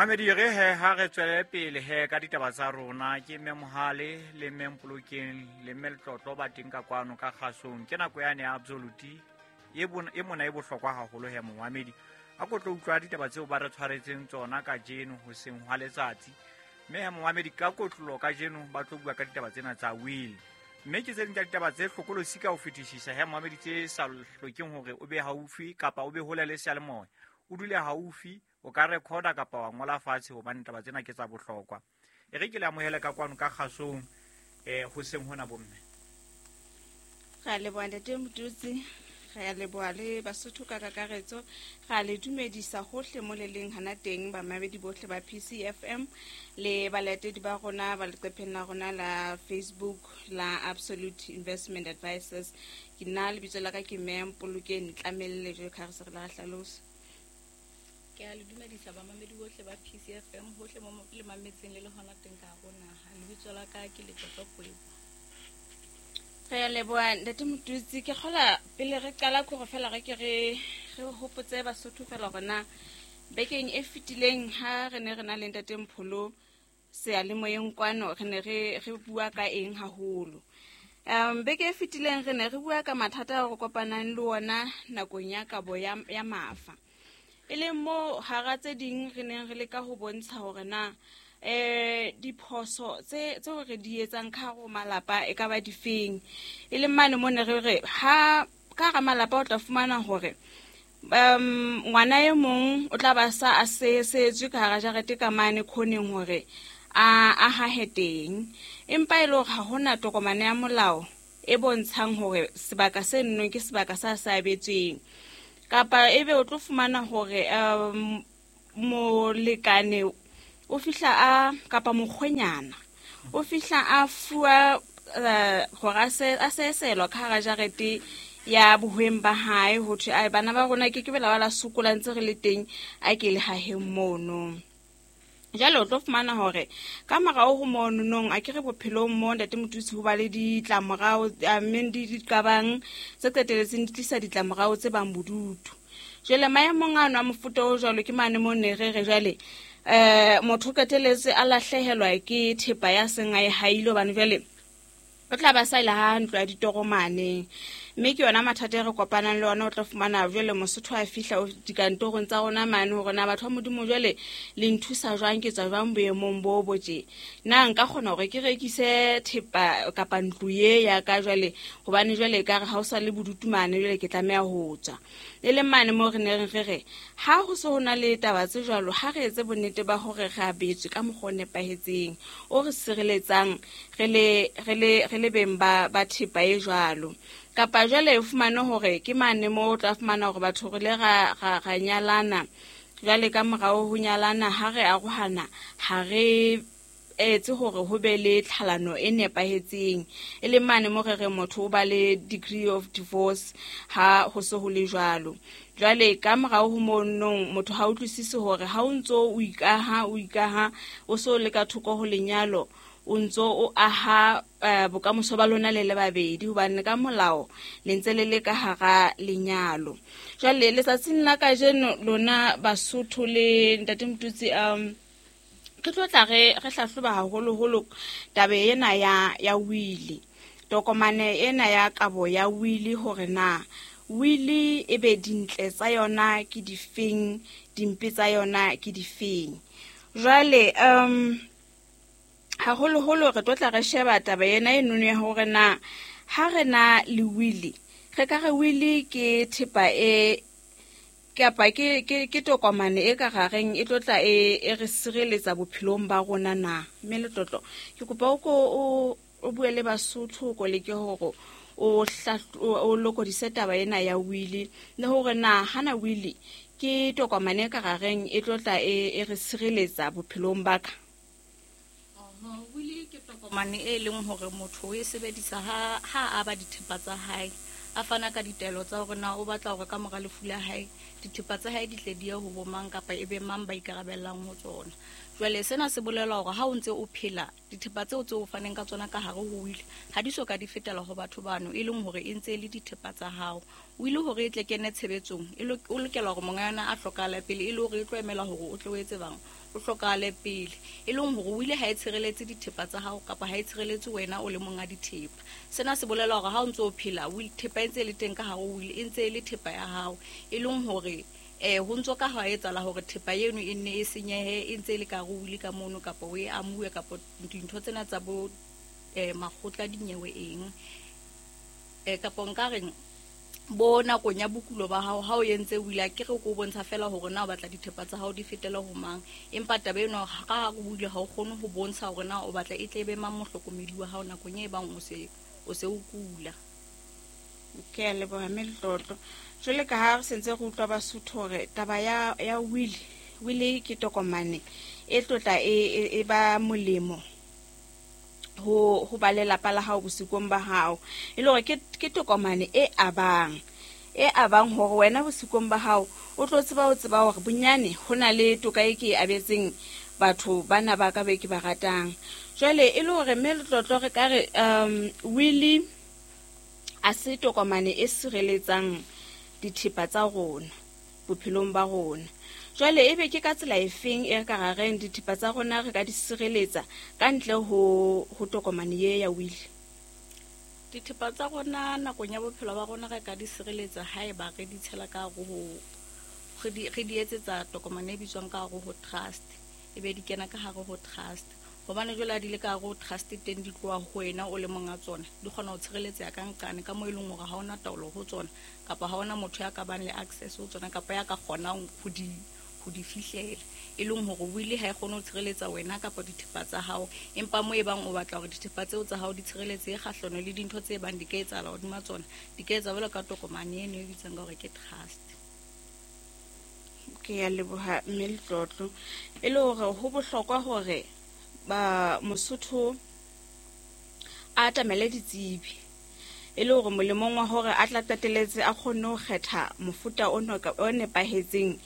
Mamedi re he ha re tswele pele he ka ditaba tsa rona. Ke mme Mohale le mme Mpolokeng le mme Letlotlo ba teng ka kwano ka kgasong. Ke nako yane ya Absolute e e mona e bohlokwa haholo he momamedi. A ko tlo utlwa ditaba tseo ba re tshwaretseng tsona kajeno hoseng hwa letsatsi. Mme he momamedi ka kotlolo kajeno ba tlo bua ka ditaba tsena tsa will. Mme ke tse ding tsa ditaba tse hlokolosi ka ho fetisisa he momamedi, tse sa hlokeng hore o be haufi kapa o be hole le seyalemoya. O dule haufi, o ka recorda kapa wa ngola fatshe hobane taba tsena ke tsa bohlokwa. E re ke le amohele ka kwano ka kgasong hoseng hona bomme. Re a leboha ntate Motutsi, re a leboha le Basotho ka kakaretso, re a le dumedisa hohle mo le leng hana teng, bamamedi bohle ba PCFM le balatedi ba rona ba leqepheng la rona la Facebook la Absolute Investment Advisors. Ke nna lebitso la ka ke mme Mpolokeng Tlamelle, jwalo ka ha re se re la re hlalosa. Ke a le dumedisa bamamedi bohle ba PCFM hohle mo le mametseng le le hona teng ka hare ho naha. Lebitso la ka ke Letlotlo Kwebo. Re a leboha ntate Motutsi. Ke kgola pele re qala kore fela re ke re re hopotse Basotho fela hore na bekeng e fetileng ha re ne re na le ntate Mpholo seyalemoyeng kwano re ne re re bua ka eng haholo. Beke e fetileng re ne re bua ka mathata ao re kopanang le ona nakong ya kabo ya, ya mafa. E leng mo hara tse ding re neng re leka ho bontsha hore na diphoso tse tseo re di etsang ka hare ho malapa e ka ba difeng. E leng mane mo ne re re ha ka hara malapa o tla fumana hore ngwana e mong o tla ba sa a sehetswe ka hara jarete ka mane khoneng hore a a hahe teng, empa e le hore ha hona tokomane ya molao e bontshang hore sebaka se nnong ke sebaka sa se abetsweng. Kapa ebe o tlo fumana hore molekane o fihla a kapa mokgwenyana o fihla a fuwa hore a seselwa ka hara jarete ya bohweng ba hae, ho thwe ai bana ba rona ke ke bela ba la sokola ntse re le teng, a ke le haheng mono. Jwale o tlo fumana hore ka morao ho mono nong a ke re bophelong mo ntate Motutsi ho ba le ditlamorao, mme di diqabang tse qeteletseng di tlisa ditlamorao tse bang bodutu. Jwale maemong ano a mofuta o jwalo ke mane mo ne re re jwale motho o qeteletse a lahlehelwa ke thepa ya seng a e haile, hobane jwale o tla ba sa ile ha ntlo ya ditokomane. Mme ke yona mathata e re kopanang le ona. O tla fumana jwale Mosotho a fihla dikantorong tsa rona mane hore na batho ba Modimo jwale le nthusa jwang, ke tswa jwang boemong bo bo tje, na nka kgona hore ke rekise thepa kapa ntlo ye ya ka jwale, hobane jwale ekare ha o sa le bodutu mane, jwale ke tlameha ho tswa. E leng mane mo re neng re re ha ho se ho na le taba tse jwalo, ha re etse bonnete ba hore re abetswe ka mokgwa o nepahetseng o re sireletsang re le re le re le beng ba ba thepa e jwalo. Kapa jwale o fumane hore ke mane mo o tla fumana hore batho re le ra ra ra nyalana, jwale ka morao ho nyalana ha re arohana ha re etse hore ho be le tlhalano e nepahetseng, e leng mane mo re re motho o ba le degree of divorce ha ho se ho le jwalo. Jwale ka morao ho monong motho ha utlwisise hore ha o ntso o ikaha o ikaha o so le ka thoko ho lenyalo, o ntso o aha bokamoso ba lona le le babedi, hobane ka molao le ntse le le ka hara lenyalo. Jwale letsatsing la kajeno lona Basotho le ntate Motutsi, re tlo tla re re hlahloba haholoholo taba ena ya ya wili, tokomane ena ya kabo ya wili, hore na wili e be dintle tsa yona ke difeng, dimpe tsa yona ke difeng. Jwale haholoholo re tlo tla re sheba taba ena e nono ya hore na ha re na le wili, re ka re wili ke thepa e kapa ke ke ke tokomane e ka gareng e tlo tla e e re sireletsa bophelong ba rona na. Mme Letlotlo, ke kopa o ko o o bue le Basotho, ko leke hore o o lokodise taba ena ya wili, le hore na hana wili ke tokomane e ka gareng e tlo tla e e re sireletsa bophelong ba ka. Wili ke tokomane e leng hore motho o e sebedisa ha ha a ba dithepa tsa hae, a fana ka ditaelo tsa hore na o batla hore ka mora lefu la hae dithepa tsa hae di tle di ye ho bo mang kapa e be mang ba ikarabellang ho tsona. Jwale sena se bolela hore ha o ntse o phela, dithepa tseo tse o faneng ka tsona ka hare ho wili ha di so ka di fetela ho batho bano, e leng hore e ntse e le dithepa tsa hao. Wili hore e tle kene tshebetsong, o lokela hore monga yona a hlokahale pele, e le hore e tlo emela hore o tle o etse bang, o hlokahale pele. E leng hore wili ha e tshireletse dithepa tsa hao kapa ha e tshireletse wena o le monga dithepa. Sena se bolela hore ha o ntse o phela, thepa e ntse e le teng ka hare ho wili, e ntse e le thepa ya hao. E leng hore ho ntso ka ha etsahala hore thepa eno e nne e senyehe e ntse e le ka hare ho wili ka mono, kapa o e amuwe, kapa dintho tsena tsa bo makgotla dinyewe eng, kapa nka reng bo nakong ya bokulo ba hao ha o entse wili, a ke re ko bontsha fela hore na o batla dithepa tsa hao di fetele ho mang. Empa taba eno ka hare ho wili ha o kgone ho bontsha hore na o batla e tle be mang mohlokomedi wa hao nakong e bang o se o kula. Ke a leboha mme Letlotlo. Jwale ka ha re sentse re utlwa Basotho hore taba ya wili ke tokomane e tlotla e ba molemo ho ba lelapa la hao bosikong ba hao, e le hore ke tokomane e abang hore wena bosikong ba hao o tlo tseba ho tseba hore bonyane ho na le toka e ke e abetseng batho bana ba ka be ke ba ratang. Jwale e le hore mme Letlotlo re ka re wili a se tokomane e sireletsang dithepa tsa rona bophelong ba rona. Jwale ebe ke ka tsela efeng e re ka ra reng dithepa tsa rona re ka di sireletsa ka ntle ho tokomane ye ya wili? Dithepa tsa rona nakong ya bophelo ba rona re ka di sireletsa haeba re di tshela ka hare ho re di etsetsa tokomane e bitswang ka hare ho trust, e be di kena ka hare ho trust. Hobane jwale ha di le ka hare ho trust teng di tloha ho wena o le monga tsona, di kgona ho tshireletseha ka nqane ka moo e leng hore ha hona taolo ho tsona, kapa ha hona motho ya ka bang le access ho tsona, kapa ya ka kgonang ho di fihlela. E leng hore wili ha e kgone ho tshireletsa wena kapa dithepa tsa hao, empa mo e bang o batla hore dithepa tseo tsa hao di tshireletsehe kgahlano le dintho tse bang di ka etsahala hodima tsona, di ka etsa jwalo ka tokomane eno e bitswang ka hore ke trust. Ke a leboha mme Letlotlo. E le hore ho bohlokwa hore ba Mosotho a atamele ditsebi, e le hore molemong wa hore a tla qetelletse a kgonne ho kgetha mofuta o nepahetseng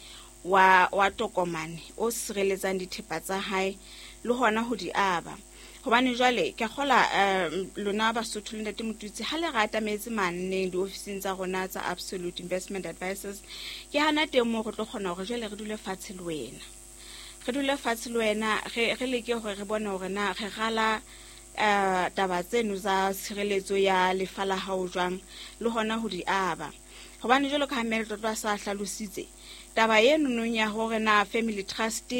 wa tokomane o sireletsang dithepa tsa hae le hona ho di aba. Hobane jwale ke kgola lona Basotho le Ntate Motutsi ha le re atametse maneng diofising tsa rona tsa Absolute Investment Advisors, ke hana teng moo re tlo kgona hore jwale re dule fatshe le wena. Re dule fatshe le wena, re leke hore re bone hore na re rala taba tseno tsa tshireletso ya lefa la hao jwang le hona ho di aba. Hobane jwalo ka ha mme Letlotlo a sa hlalositse taba eno nong ya hore na family trust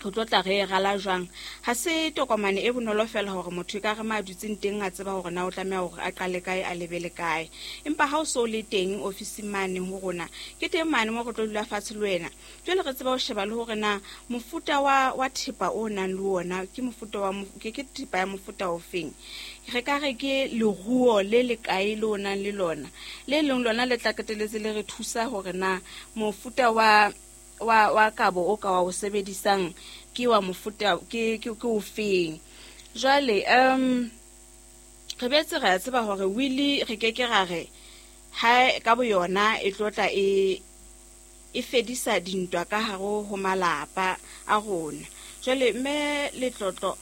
re tlo tla re e rala jwang, ha se tokomane e bonolo fela hore motho e ka re ma dutseng teng a tseba hore na o tlameha hore a qale kae a lebele kae. Empa ha o so le teng ofising mane ho rona, ke teng mane mo re tlo dula fatshe le wena. Jwale re tseba ho sheba le hore na mofuta wa thepa o nang le ona ke mofuta wa ke thepa ya mofuta ofeng. Re ka re ke leruo le le kae le o nang le lona, le leng lona le tla qetelletse le re thusa hore na mofuta wa kabo o ka wa o sebedisang ke wa mofuta ke o feng. Jwale re betse re a tseba hore wili re ke ke ra re ha ka boyona e tlotla e fedisa dintwa ka hare ho malapa a rona. Jwale mme Letlotlo